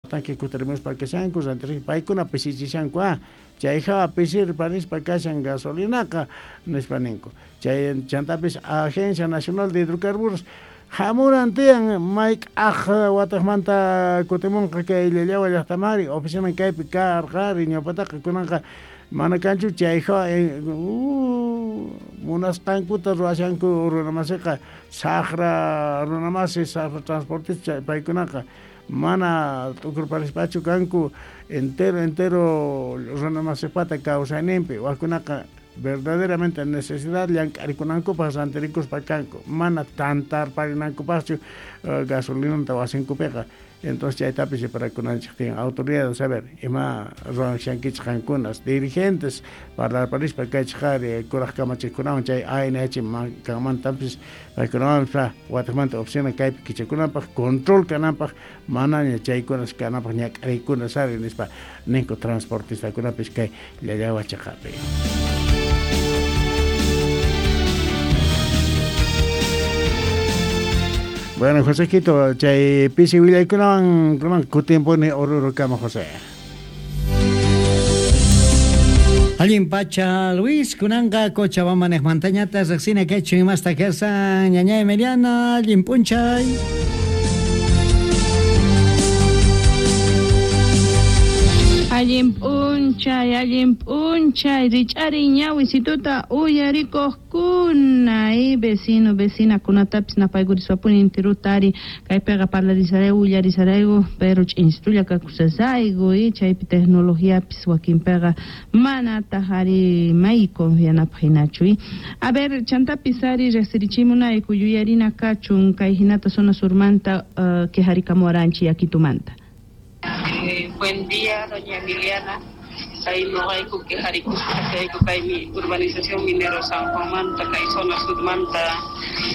Tanque kutirimuspa kashanku rantirik paykuna pisichishanku ah chay hawa pisirparispa kashan gasolinaqa nispa ninku. Chay chantapis Agencia Nacional de Hidrocarburos hamunan tiyan mayk'aj wataqmanta kutimunqa kay Llallawa llaqtamari oficina kaypi karqari ñawpataqa kunanqa mana kanchu chay hawa munasqankuta ruwashanku runamasiqa saqra runamasi saqra transportista paykunaqa mana t'ukurparispachu kanku entero entero runamasipata kawsayninpi wakkunaqa verdaderamente necesidad llank'arikunankupaq rantirikuspa kanku mana tantarparinankupaqchu gasolinata wasinkupiqa. Entonces chaytapis reparakunanchik tiyan autoridades saber ima ruwanshankichik qankunas dirigentes parlarparispa kaychik qari kuraq kamachiqkunawan chay ANH kanmantapis paykunawanpas wataqmanta oficina kaypi kichakunapaq control kananpaq manaña chaykunas kananpaq ñak'ariykunas ari nispa ninku transportistakunapis kay Llallawa chaqapi. Bueno, José Quito, chay pisi willaykunawan kunan kutimpuni Orurukama, José. Allin pacha, Luis, kunanqa Cochabamba niqmantañata riqsina kaychu imasta kasan ñaña Emiliana, allin p'unchay. Allin p'unchay, rich'ariy ñawisituta uyarikuqkuna, y vecino, vecinakunatapis napaykuriswapuni intiruta ari kaypiqa parlarisarayku, willarisarayku, pero ch'insitulla kakusasayku, y chaypi tecnologiapis wakinpiqa manataq ari may confianapaq hinachu, y a ver, chantapis ari riqsirichimunayku yuyarina kachun kay hinata zona surmanta quejarikamuwaranchik yakitumanta. Buen día, doña Emiliana. Kay noqayku quejarikuspa kay urbanización Minero San Juanmanta, kay zona surmanta,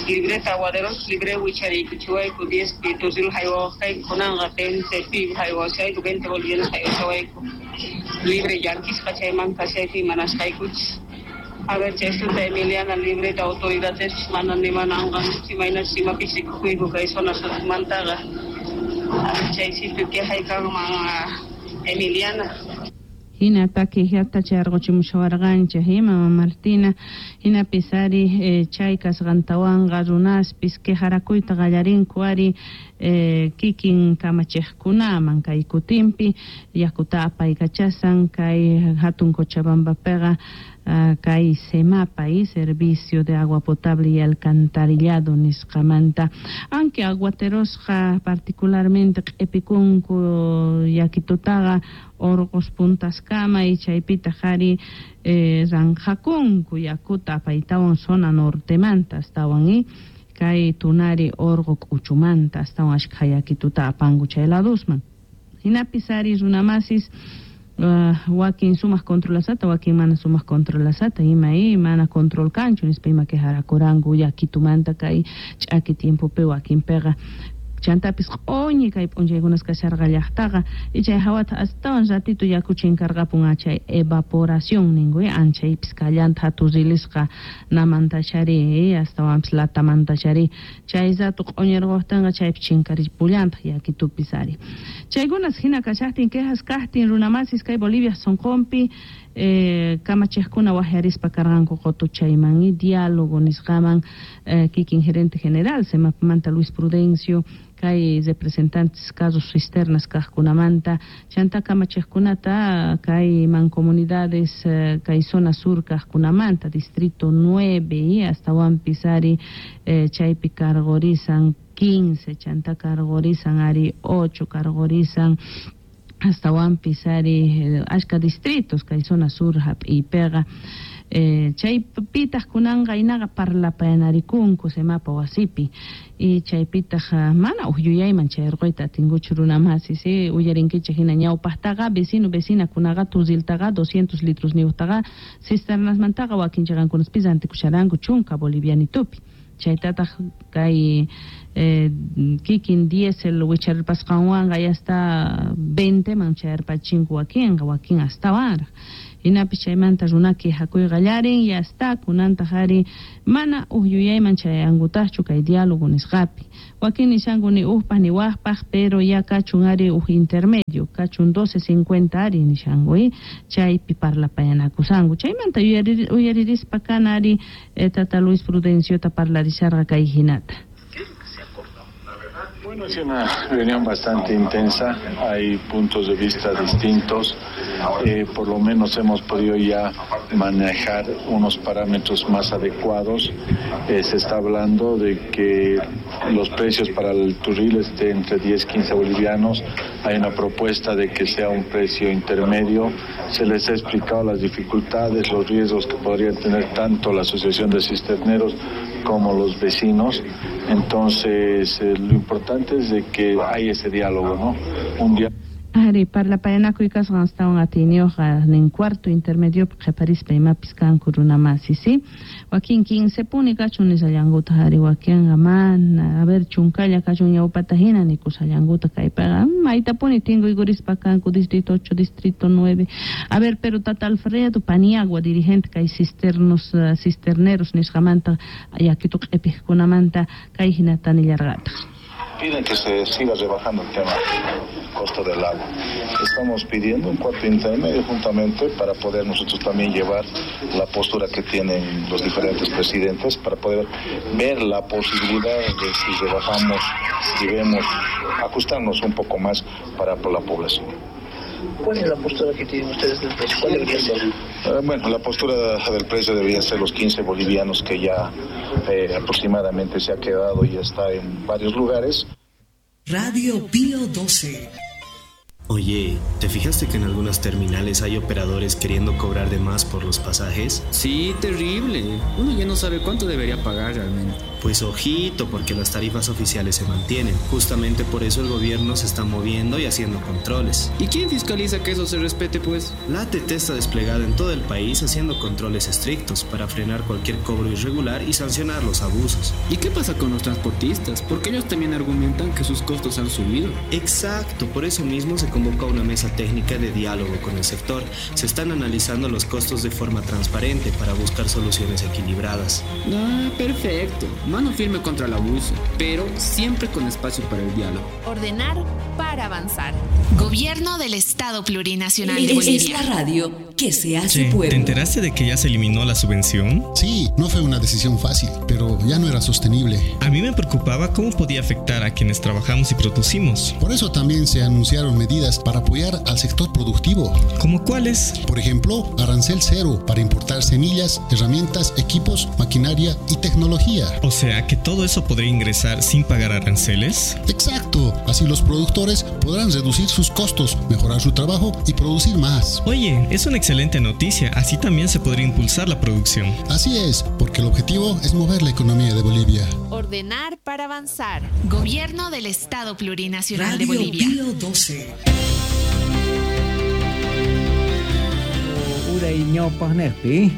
libreta aguaderos, libre wichariykuchiwayku, 10 piturril haywawaqkayku, kunanqa 20 pib haywawashayku, 20 bolivianos haywashawayku. Libre llankisqa chaymanta chaypi imanasqaykuchis. A ver, chaystuta Emiliana, libreta autoridades mana nimananqa, imaynachus imapis rikukuyku kay zona surmantaqa. Chay sitio quejaykanman Emiliana. Hinata quejata charqochimushawarqanchik, mama Martina, hinapis ari chay kasqantawanqa runaspis quejarakuyta qallarinku ari kikin kamachiqkunaman kay kutinpi yakuta apaykachasan kay hatun Cochabambapiqa kay SEMAPA y Servicio de Agua Potable y Alcantarillado nisqamanta, aunque aguaterosqa particularmente q'ipikunku yakitutaqa orqos puntaskama y chaypitaq ari ranqakunku yakuta apaytawan zona nortemanta astawan y kay tunari orqo k'uchumanta astawan ashkha yakituta apanku chay ladusman. Hinapis ari runamasis wakin sumaq controlasata, wakin mana sumaq controlasata, ima y mana control kanchu nispa ima quejarakuranku yakitumanta kay ch'aki tiempopi wakinpiqa. Chantapis q'uñi kay p'unchaykunas kasharqa llaqtaqa y chay hawata astawan ratito yaku chinkarqapun chay evaporación ninku anchaypis kallanta hatu rilisqa namantachari astawanpis latamantachari chay rato q'uñirquqtinqa chaypi chinkaripullantaq yakitupis ari. Chaykunas hina kashaqtin quejas kaqtin runamasis kay Bolivia sonqonpi kamachiqkuna waqyarispa karqanku qutuchayman y diálogo nisqaman kikin gerente general SEMAPmanta Luis Prudencio kay representantes carros cisternas kaqkunamanta chanta kamachiqkunata kay mancomunidades kay zona sur kaqkunamanta distrito 9 y astawanpis ari chaypi cargorizan 15 chanta cargorizan ari 8 cargorizan astawanpis ari ashka distritos kay zona sur hap'iypiqa chaypitaq kunanqa inaqa parlapayanarikunku SEMAPA wasipi y chaypitaq mana uj yuyayman chayrquyta atinkuchu runamasis uyarinkichik hina ñawpaqtaqa vecino vecinakunaqa tuziltaqa 200 litros niyuqtaqa cisternasmantaqa wakin chaqankunaspis rantikusharanku chunka bolivianitupi chaytataq kay Kikin diésel wicharpasqanwanqa ya hasta 20 man chayarpachinku wakinqa, wakin astawanraq. Hinapis chaymanta runa quejakuy qallarin, ya está, kunantaq ari mana uj yuyayman chayankutaqchu kay diálogo nisqapi. Wakin nishanku ni ujpaj ni wajpaj, pero ya kachun ari uj intermedio, kachun 12.50 ari nishanku, chaypi parlapayanakusanku. Chaymanta uyaririspa kana ari tata Luis Prudenciota parlarisharqa kay hinata. Bueno, es una reunión bastante intensa, hay puntos de vista distintos, por lo menos hemos podido ya manejar unos parámetros más adecuados. Se está hablando de que los precios para el turril estén entre 10 y 15 bolivianos, hay una propuesta de que sea un precio intermedio, se les ha explicado las dificultades, los riesgos que podrían tener tanto la Asociación de Cisterneros como los vecinos. Entonces, lo importante es de que hay ese diálogo, ¿no? Un diálogo. Ari, parlapayanakuy kasqan astawan atiyniyuqqa nin cuarto intermedio qhiparispa imapis kanku runa masi, ¿sí? Wakin 15 puni kachun nishallankuta, ari wakinqa mana, a ver, chunkalla kachun ñawpata hina nikushallankuta kaypaqa, maytapuni tinkuykurispa kanku distrito 8, distrito 9. A ver, pero tata Alfredo Paniagua, dirigente kay cisterneros nisqamanta, yakitu q'ipijkunamanta kay hinata nillarqataq. Piden que se siga rebajando el tema costo del agua. Estamos pidiendo un cuarto intermedio juntamente para poder nosotros también llevar la postura que tienen los diferentes presidentes, para poder ver la posibilidad de si rebajamos y vemos ajustarnos un poco más para la población. ¿Cuál es la postura que tienen ustedes del precio? ¿Cuál debería ser? Bueno, la postura del precio debería ser los 15 bolivianos que ya aproximadamente se ha quedado y está en varios lugares. Radio Pío 12. Oye, ¿te fijaste que en algunas terminales hay operadores queriendo cobrar de más por los pasajes? Sí, terrible. Uno ya no sabe cuánto debería pagar realmente. Pues ojito, porque las tarifas oficiales se mantienen. Justamente por eso el gobierno se está moviendo y haciendo controles. ¿Y quién fiscaliza que eso se respete, pues? La ATT está desplegada en todo el país haciendo controles estrictos para frenar cualquier cobro irregular y sancionar los abusos. ¿Y qué pasa con los transportistas? Porque ellos también argumentan que sus costos han subido. Exacto, por eso mismo se convoca una mesa técnica de diálogo con el sector. Se están analizando los costos de forma transparente para buscar soluciones equilibradas. Ah, perfecto. Mano firme contra el abuso, pero siempre con espacio para el diálogo. Ordenar para avanzar. Gobierno del Estado Plurinacional de Bolivia. Es la radio que se hace pueblo. ¿Te enteraste de que ya se eliminó la subvención? Sí, no fue una decisión fácil, pero ya no era sostenible. A mí me preocupaba cómo podía afectar a quienes trabajamos y producimos. Por eso también se anunciaron medidas para apoyar al sector productivo. ¿Cómo cuáles? Por ejemplo, arancel cero para importar semillas, herramientas, equipos, maquinaria y tecnología. O sea, que todo eso podría ingresar sin pagar aranceles. Exacto. Así los productores podrán reducir sus costos, mejorar su trabajo y producir más. Oye, es una excelente noticia. Así también se podría impulsar la producción. Así es, porque el objetivo es mover la economía de Bolivia. Ordenar para avanzar. Gobierno del Estado Plurinacional de Bolivia. Radio Pío 12. Uray ñawpaq niqpi,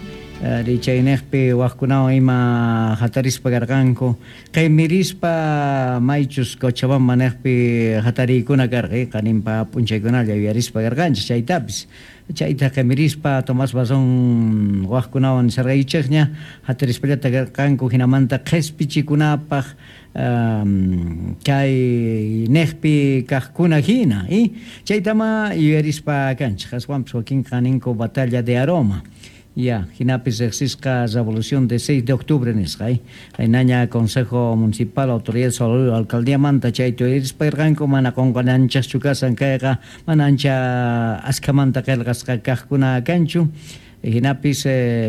richaynejpi wajkunawan ima hatarispa karqanku, qimirispa maychus Cochabamba nejpi hatariykuna karqa, qaninpa p'unchaykunalla yuyarispa karqanchis chaytapis. Chayta qimirispa Tomás Bazón wajkunawan nisarqaychikña hatarispallata karqanku hinamanta qhispichikunapaq kay nejpi kaqkuna hina, chaytama yuyarispa kanchik, aswanpis wakinqa ninku batalla de Aroma. Ya, hinapis riqsisqa Revolución de 6 de octubre nisqa, qaynaña Consejo Municipal, Autoridad Salud, Alcaldía manta chayta yuyarispa karqanku, mana qunqananchikchu kasan kayqa, mana ancha askhamanta qillqasqa kaqkuna kanchu. Hinapis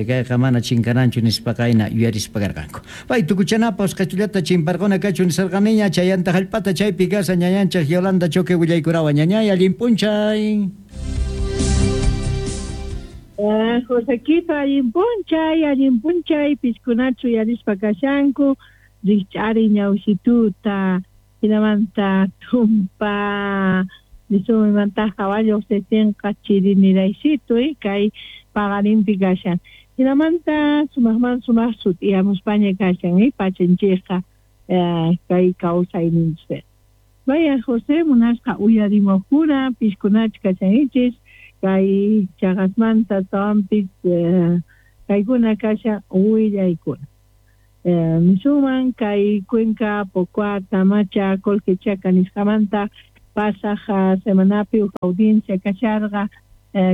kayqa mana chinkananchu nispa qayna yuyarispa karqanku. Pay tukuchanapas qhichullata chimparquna kachun nisarqaniña chayanta hallp'ata chaypi kasa ñañanchik Yolanda Choque willaykunawan ñañay allin p'unchay. Josequito, allin p'unchay, piskunachu yuyarispa kashanku, rikch'ari ñawsituta, hinamanta tumpa, nisumimanta caballo setinqa chiriniraysitu, kay paqarinpi kashan. Hinamanta sumaqman sumaq sut'iyamuspaña kashan, pachanchikqa. Kay kawsayninchis. Vaya José munasqa uyarimuqkuna piskunach kashanchis kay chaqasmanta tawanpis kaykuna kashan willaykuna. Nisuman kay Cuenca, Pocoata, Macha, Colquechaca nisqamanta pasaj semanapi uj audiencia kasharqa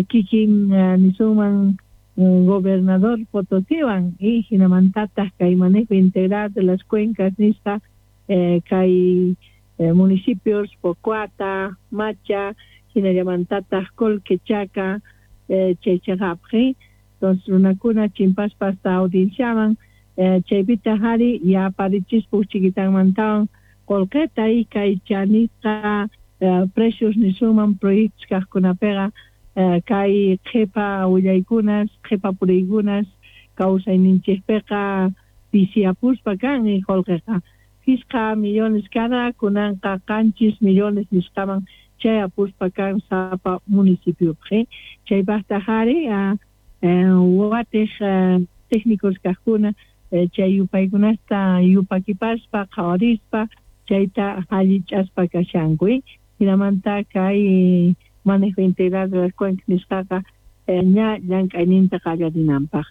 kikin nisuman gobernador Potosiwan y hinamantataq kay manejo integral de las cuencas nisqa kay municipios Pocoata, Macha, hinallamantataq Colquechaca, chay chaqapji. Entonces runakuna chimpaspa hasta audienciaman chaypita hari yaparichispa uj chiquitanmantawan qolqeta y kay chanisqa precios nisuman proyectos kaqkunapiqa kay qhipa willaykunas, qhipa puriykunas kawsayninchikpiqa pisiyapuspa kan qolqeqa 5 millones cada kunanqa 7 millones nisqaman chayapuspa kan sapa municipiopi. Chaypaqta hari watej técnicos kaqkuna chay yupaykunasta yupakipaspa qhawarispa chayta allich'aspa kashanku. Hinamanta kay manejo integral de las cuencas nisqaqa ña llank'ayninta qallarinanpaq.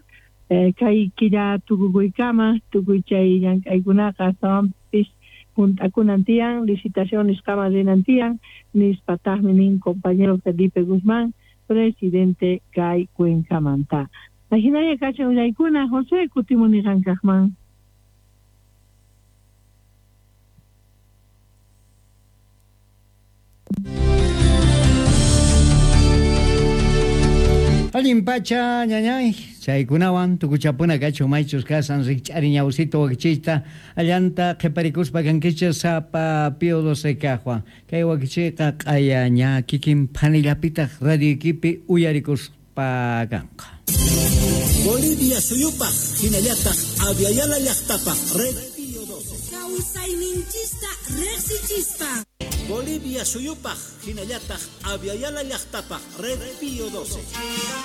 Kay killa tukukuykama tukuy chay llank'aykunaqa astawanpis junt'akunan tiyan, licitación nisqaman rinan tiyan, nispataqmi nin compañero Felipe Guzmán, presidente kay cuencamanta. Ajinalla kashan willaykuna, José, kutimuni qankaqman. Allin pacha ñañay, chaykunawan tukuchapuna kachu maychus kasan rikch'ari ñawsito wakichiyta allanta qhiparikuspa kankichis sapa Pío 12 kaqwan. Kay wakichiyqa q'aya ña kikin phanillapitaq radioykipi uyarikuspa kanqa. Bolivia suyupaq hinallataq Aviala llaqtapaq Red Pío 12. Kawsayninchista riqsichispa. Bolivia suyupaq hinallataq Aviala llaqtapaq Red Pío 12.